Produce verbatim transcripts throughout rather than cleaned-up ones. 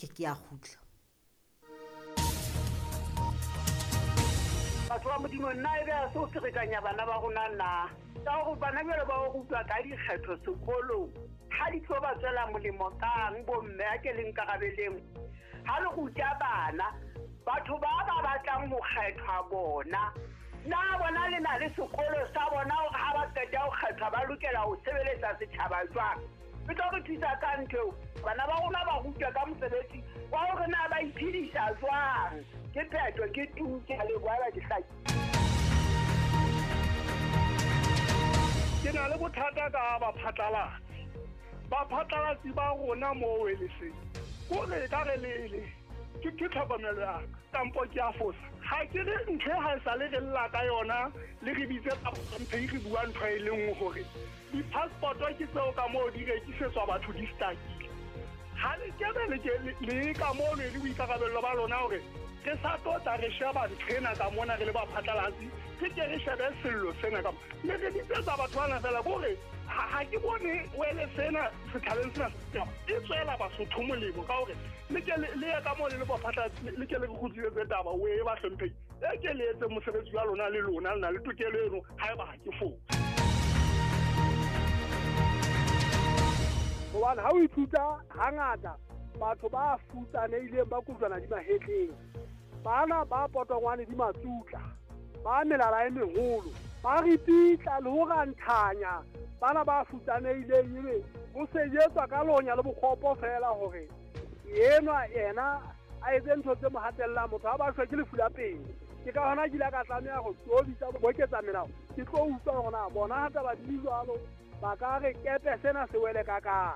Ke ke a kgutla. Batho ba Modimo, nna e be a se o ferekanya bana ba rona na? Ka hore bana jwale ba o rutwa ka dikgetho sekolong, ha di tlo ba tswela molemo kang bomme a ke le nkarabeleng? Ha le ruta bana, batho ba ba batlang ho kgethwa bona, na bona le na le sekolo sa bona hore ha ba qeta ho kgethwa ba lokela ho sebeletsa setjhaba jwang? E tlo re thusa ka ntho eo. Bana ba rona ba rutwa ka mosebetsi wa hore na ba iphedisa jwang. Ke phetho, ke tu, ke a leboha ba ke hlaki. Ke na le bothata ka baphatlalatsi. Baphatlalatsi ba rona moo e le seng. Kore ka re le le ke ke tlhokomelo ya ka, kampo ke a fosa. Ha ke re ntho e ha e sa le re lla ka yona, le re bitse mphe re bua ntho e le nngwe hore di-passport-o ke tseo ka moo di rekisetswa batho di stakile. Ha le kebe le ke le ka moo le le boikarabello ba lona hore re sa tlo tla re sheba ntho ena ka mona re le baphatlalatsi, re ke re shebe sello sena ka mona. Le re bitsetsa batho bana fela kore ha, ha ke bone wele sena setjhabeng sena e tswela Basotho molemo ka hore le ke le, le ye ka moo le le baphatlalatsi, le ke le re kgutlisetse taba o e ba hlomphehi. E ke le etse mosebetsi wa lona le lona, le na le tokelo eno haeba ha ke fose. Hobane ha o ithuta hangata batho ba futsanehileng ba kojwana di mahetleng, bana ba potongwane di matsutla, ba melala e meholo, ba ripitla le ho ranthanya bana ba futsanehileng, ebe ho sejetswa ka lonya le bokgopo fela hore enwa yena a etse ntho tse mo hatellang motho ha ba shwe ke lefu la pele. Ke ka hona ke ile ka tlameha ho tobisa boketsa melao, ke tlo utlwa hore na bona ha taba di le jwalo ba ka re kepe sena se wele ka kae.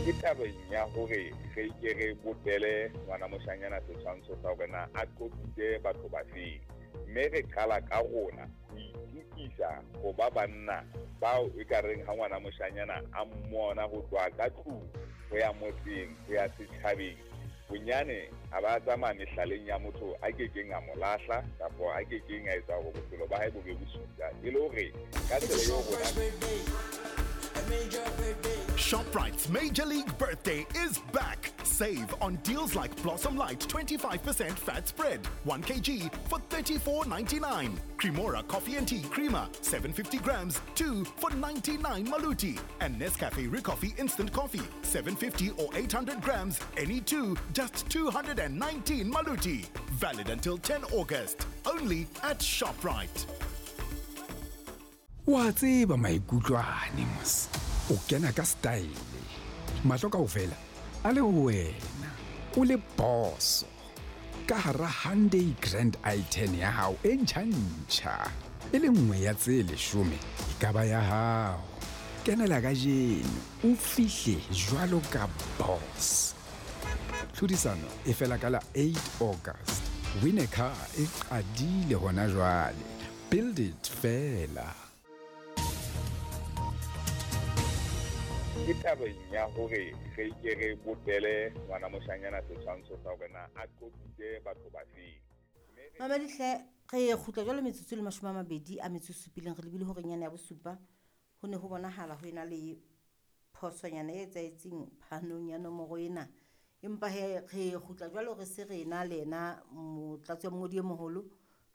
Ke tabeng ya hore re ke re bopele ngwana moshanyana setshwantsho sa hore na a qoqitse batho ba feng, mme re qala ka rona ho itukisa ho ba banna bao e ka reng ha ngwana moshanyana a mmona ho tloha ka tlung ho ya motseng ho ya setjhabeng, bonyane a ba tsamaya mehlaleng ya motho a kekeng a mo lahla kapa a kekeng a etsa hore bophelo ba hae bo be bosula, e le hore ka tsela eo rona. ShopRite's Major League Birthday is back. Save on deals like Blossom Light twenty-five percent fat spread, one kilogram for thirty-four ninety-nine. Cremora Coffee and Tea Creamer, seven hundred fifty grams, two for ninety-nine Maluti. And Nescafe Recoffee Instant Coffee, seven fifty or eight hundred grams, any two, just two hundred nineteen Maluti. Valid until tenth August. Only at ShopRite. Wa tseba maikutlo ane mos. O kena ka style. Mahlo kaofela a le ho wena. O le boso. Ka hara Hyundai Grand i ten ya hao e ntjha-ntjha. E le nngwe ya tse leshome e ka ba ya hao. Kenela kajeno o fihle jwalo ka boss. Tlhodisano e fela ka la eight August. Win a car e qadile hona jwale. Build it fela. Ke tabeng ya hore re ke re bopele ngwana moshanyana setshwantsho sa hore na a qoqitse batho ba feng. Mamedi hle, re kgutla jwalo metsotso le mashome a mabedi a metso e supileng, re lebile hore nyane ya bosupa ho ne ho bonahala ho ena le phosonyana e etsahetseng phanong ya nomoro ena. Empa he re kgutla jwalo re se re ena le ena motlatsi wa mongodi e moholo,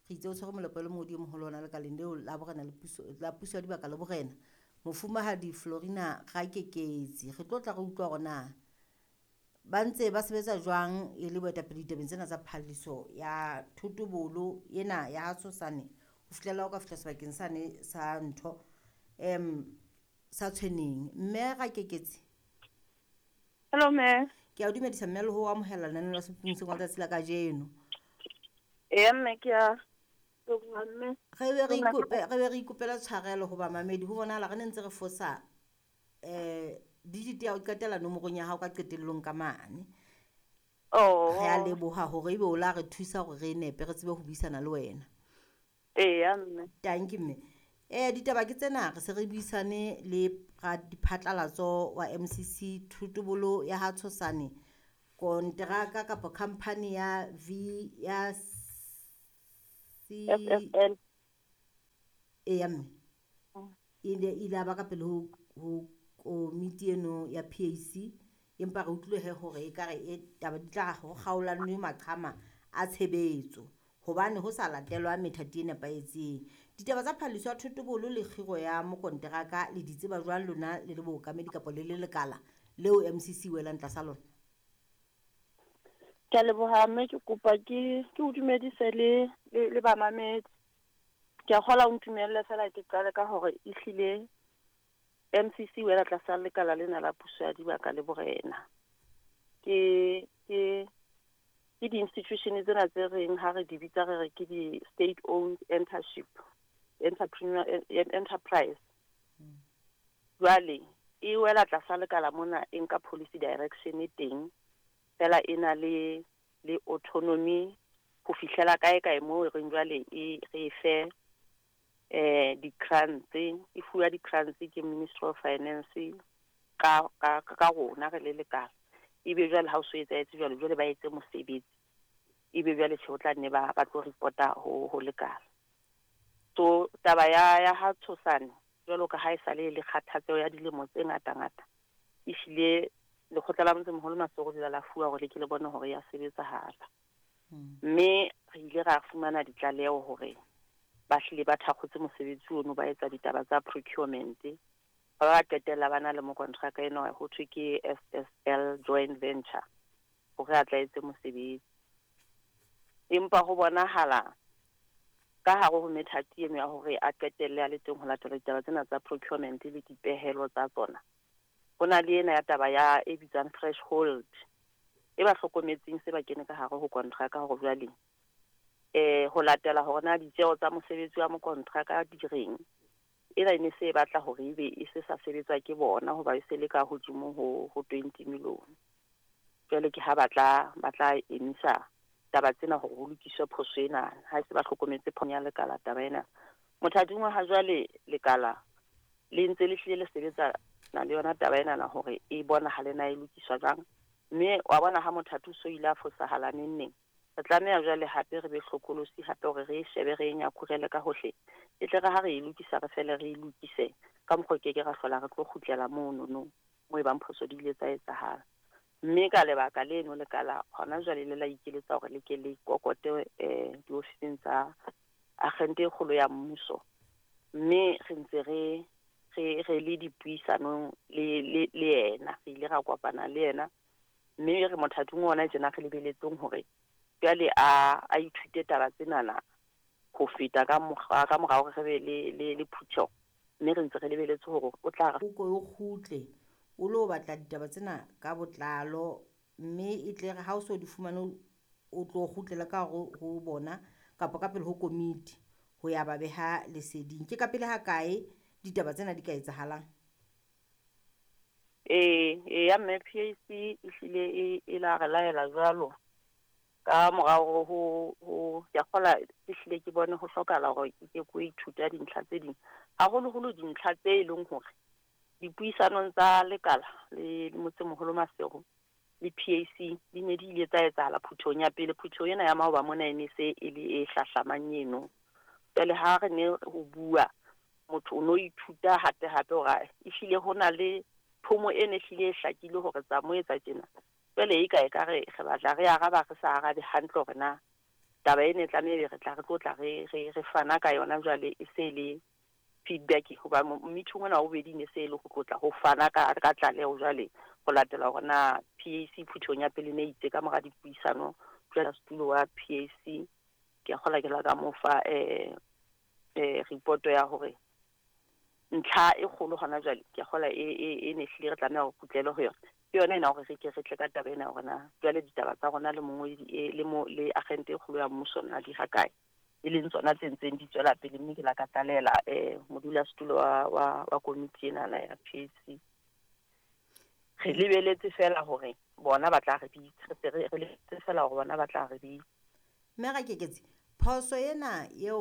re itse o tshwere molepo le mongodi e moholo ona lekaleng leo la borena le puso, la puso ya dibaka le borena, Mofumahadi Florina Rakeketsi. Re tlo tla re utlwa hore na ba ntse ba sebetsa jwang e le boetapele ditabeng tsena tsa phalliso ya thotobolo ena ya ha Tshosane ho fihlela o ka fihla sebakeng sane sa ntho em sa Tshweneng. Mme Rakeketsi. Hello mme. Ke a o dumedisa mme le ho amohela lenaneo la Sephung se Ngata Tsatsi la kajeno. Ee mme, ke a mme. Re be re ikope, re be re ikopela tshwarelo ho bamamedi ho bonahala re ne ntse re fosa eh digit ya ho qetela nomorong ya hao ka qetellong ka mane. Oh. Re a leboha hore ebe o la re thusa hore re nepe re tsebe ho buisana le wena. Ee mme. Thank you mme. Eh ditaba ke tsena, re se re buisane le radiphatlalatso wa M C C thotobolo ya ha Tshosane, konteraka kapa company ya V ya C F F L. Eya mme. Ile ile a ba ka pele ho ho komiti eno ya P A C, empa re utlwile he hore ekare e taba di tla ho kgaolanwe maqhama a tshebetso hobane ho sa latelwa methati e nepahetseng. Ditaba tsa phalliso ya thotobolo le kgiro ya mokonteraka le di tseba jwang lona le le bookamedi kapa le le lekala leo M C C welang tlasa lona? Ke a leboha mme, ke kopa ke, ke o dumedise le, le, le bamamedi. Ke a kgolwa o ntumelle fela ke qale ka hore ehlile M C C wela tlasa lekala lena la puso ya dibaka le borena. Ke, ke, ke di-institution tsena tse reng ha re di bitsa re re ke di-state-owned entrepreneurship, entrepreneur, enterprise. Jwale e wela tlasa lekala mona e nka policy direction e teng, fela e na le, le autonomy ho fihlela kae kae moo re reng jwale e re fe, eh, di-grants, e fuwa di-grants ke Ministry of Finance ka, ka, ka rona re le lekala. Ebe jwale ha o so etsahetse jwalo, jwale ba etse mosebetsi. Ebe jwale tjhe, o tla nne ba, ba tlo reporta ho, ho lekala. So taba ya, ya ha Tshosane, jwalo ka ha e sale le kgathatseho ya dilemo tse ngata-ngata, ehlile lekgotla la motsemoholo Maseru le la fuwa hore le ke le bone hore ya sebetsahala. Hmm. Mme re ile ra fumana ditlaleho hore ba hlile ba thakgotse mosebetsi ono, ba etsa ditaba tsa procurement. Ba ba qetella ba na le mokontraka enwa ho thwe ke S S L joint venture hore a tla etse mosebetsi. Empa ho bonahala ka hare ho methati eno ya hore a qetelle a le teng ho latela ditaba tsena tsa procurement le dipehelo tsa tsona, ho na le ena ya taba ya e bitswang threshold e ba hlokometseng se ba kene ka hare ho kontraka hore jwale, eh, ho latela hore na ditjeho tsa mosebetsi wa mokontraka di reng. Ena e ne se e batla hore ebe e se sa sebetswa ke bona hoba e se le ka hodimo ho, ho twenty million. Jwale ke ha ba tla, ba tla emisa taba tsena hore ho lokiswe phoso ena, ha e se ba hlokometse phoso ya lekala taba ena. Mothating wa ha jwale lekala le ntse le hlile le sebetsa na le yona taba ena na hore e bonahale na e lokiswa jwang. Mme wa bona ha mothati o so ile a fosahala neng neng, re tlameha jwale hape re be hlokolosi hape hore re e shebe, re e nyakurele ka hohle. E tle re ha re e lokisa, re fele re e lokise ka mokgwa o ke ke ra hlola re tlo kgutlela mono no, moo e bang phoso di ile tsa etsahala. Mme ka lebaka leno lekala hona jwale le la ikeletsa hore le ke le kokote, eh, diofising tsa agente e kgolo ya mmuso. Mme re ntse re, re, re le dipuisanong le, le, le yena, re ile ra kopana le yena. Mme re mothating ona tjena re lebeletseng hore jwale a, a ithute taba tsenana ho feta ka mokgwa, ka morao hore re be le, le, le phutheho. Mme re ntse re lebeletse hore o tla re O ko o kgutle, o lo batla ditaba tsena ka botlalo, mme e tle re ha o so di fumane o tlo kgutlela ka hare ho bona kapa ka pele ho komiti ho ya ba beha leseding. Ke ka pele ha kae ditaba tsena di ka etsahalang? Ee, ee, ya mme P A C ehlile e, e la re laela jwalo ka morao ho, ho, ke a kgolwa ehlile ke bone ho hlokahala hore ke ke ko ithuta dintlha tse ding, haholoholo dintlha tse e leng hore dipuisanong tsa lekala le, le motsemoholo Maseru le P A C di ne di ile tsa etsahala phuthehong ya pele. Phutheho ena ya maoba mona e ne se e le e hlahlamang eno. Jwale ha re ne ho bua, motho o no ithuta hape hape hore ehlile ho na le thomo e ne ehlile e hlakile hore tsa mo etsa tjena. Jwale e ka e ka re, re batla re araba re sa arabe hantle hore na taba ena e tlameha ebe re tla re tlo tla re, re, re fana ka yona jwale e se le feedback, hoba mo-, meeting ona wa bobedi ne se e le ho tlotla ho fana ka, ka tlaleho jwale ho latela hore na P A C phuthehong ya pele ne itse ka mora dipuisano jwale setulo wa P A C ke a kgolwa ke la ka mo fa, eh, eh, report ya hore ntlha e kgolo hona jwale ke a kgolwa e, e, e ne hlile re tlameha ho kgutlele ho yona. Ke yona ena hore re ke re tle ka taba ena hore na jwale ditaba tsa rona le mongwedi e, le mo, le agente e kgolo ya mmuso na di ha kae, e leng tsona tse ntseng di tswela pele. Mme ke la ka tlalela, eh, modulasetulo wa, wa, wa komiti enana ya P A C. Re lebeletse fela hore bona ba tla re bitsa, re se re, re lebeletse fela hore bona ba tla re bitsa. Mme Rakeketsi, phoso ena eo